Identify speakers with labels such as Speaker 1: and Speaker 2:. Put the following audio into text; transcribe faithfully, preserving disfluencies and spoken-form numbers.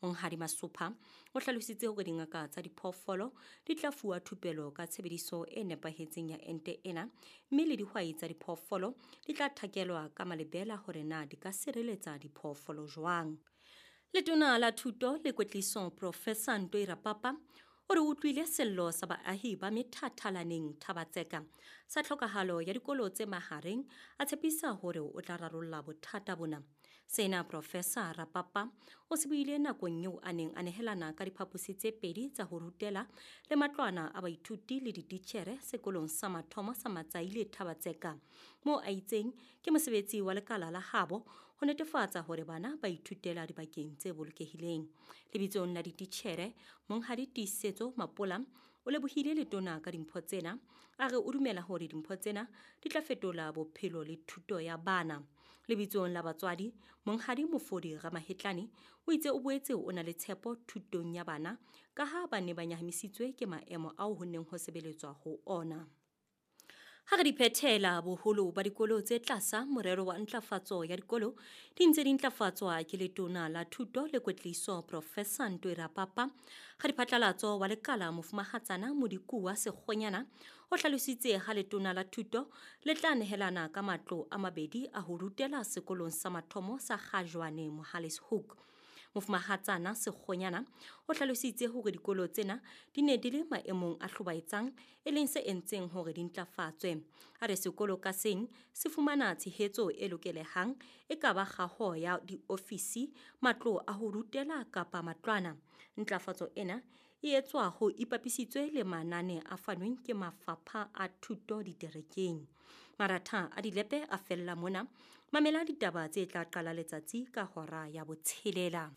Speaker 1: Monghadi Masopha o hlalositse hore dingaka tsa diphoofolo di tla fuwa thupelo ka tshebediso e nepahetseng ya ente ena, mme le dihwai tsa diphoofolo di tla thakelwa ka malebela hore na di ka sireletsa diphoofolo jwang. Letona la Thuto le Kwetliso Professor Ntoi Rapapa o re utlwile sello sa baahi ba methathalaneng Thaba-Tseka sa tlhokahalo ya dikolo tse mahareng, a tshepisa hore o tla rarolla bothata bona. Sena Professor Rapapa o se buile nakong eo a neng a nehelana ka diphaposi tse pedi tsa ho rutela le matlwana a baithuti le dititjhere sekolong sa mathomo sa Matsaile Thaba-Tseka, moo a itseng ke mosebetsi wa lekala la habo ho netefatsa hore bana ba ithutela dibakeng tse bolokehileng. Lebitsong la dititjhere, Monghadi Tiisetso Mapola o lebohile letona ka dimpho tsena, a re o dumela hore dimpho tsena di tla fetola bophelo le thuto ya bana. Lebitsong la batswadi, Monghadi Mofodi Ramahetlane o itse o boetse o na le tshepo thutong ya bana ka ha ba ne ba nyahamisitswe ke maemo ao ho neng ho sebeletswa ho ona. Ha re di phethela, boholo ba dikolo tse tlasa morero wa ntlafatso ya dikolo di ntse di ntlafatswa ke letona la Thuto le Kwetliso Professor Ntoi Rapapa. Radiphatlalatso wa lekala Mofumahatsana Modikuwa Sekgonyana o hlalositse ha letona la Thuto le tla nehelana ka matlo a mabedi a ho rutela sekolong sa mathomo sa Kgajwane Mohale's Hoek. Mofumahatsana Sekgonyana o hlalositse hore dikolo tsena di ne di le maemong a hlobaetsang, e leng se entseng hore di ntlafatswe. A re sekolo ka seng se fumana tshehetso e lokelehang, e ka ba kgaho ya diofisi, matlo a ho rutela kapa matlwana. Ntlafatso ena e etswa ho ipapisitswe le manane a fanweng ke mafapha a thuto diterekeng. Maratha a dilepe a fella mona. Mamela ditaba tse tla qala letsatsi ka hora ya botshelela.